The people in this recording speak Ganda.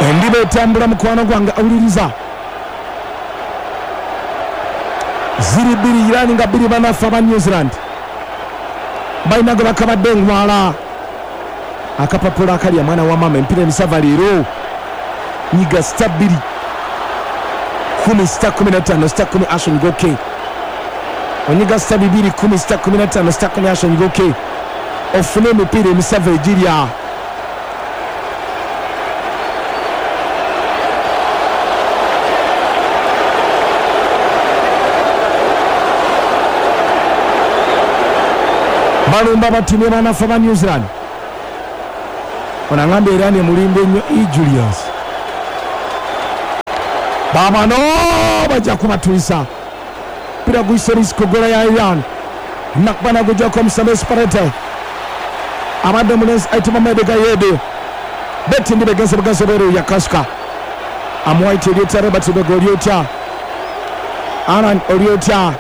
Endiba etambula mukwano gwange awuliriza. Ziri bbiri Iran nga bbiri banafu aba New Zealand. Balina gwe bakabadde engwala. Akapapula akalya mwana wa maama empira emisava leero. Nyiga star bbiri kumi star 15 star 10 Ashon Goke. Onyiga star bibiri kumi star 15 star 10 Ashon Goke. Ofune emipiira emisava egirya. Balumba batimye banafu ba New Zealand. Ono angambye Iran emulimba ennyo e Julius. Babano bajja kubatuyisa. Mpira guyise risiko gola ya Iran. Nakuba nagujjako omusambi Esperete. Abadde omulenzi ayitibwa Mede Gayede. Beti ndi begenze bugenzi obweru yakasuka. Amuwaiti oli otya Robert Lubega oli otya? Alan oli otya?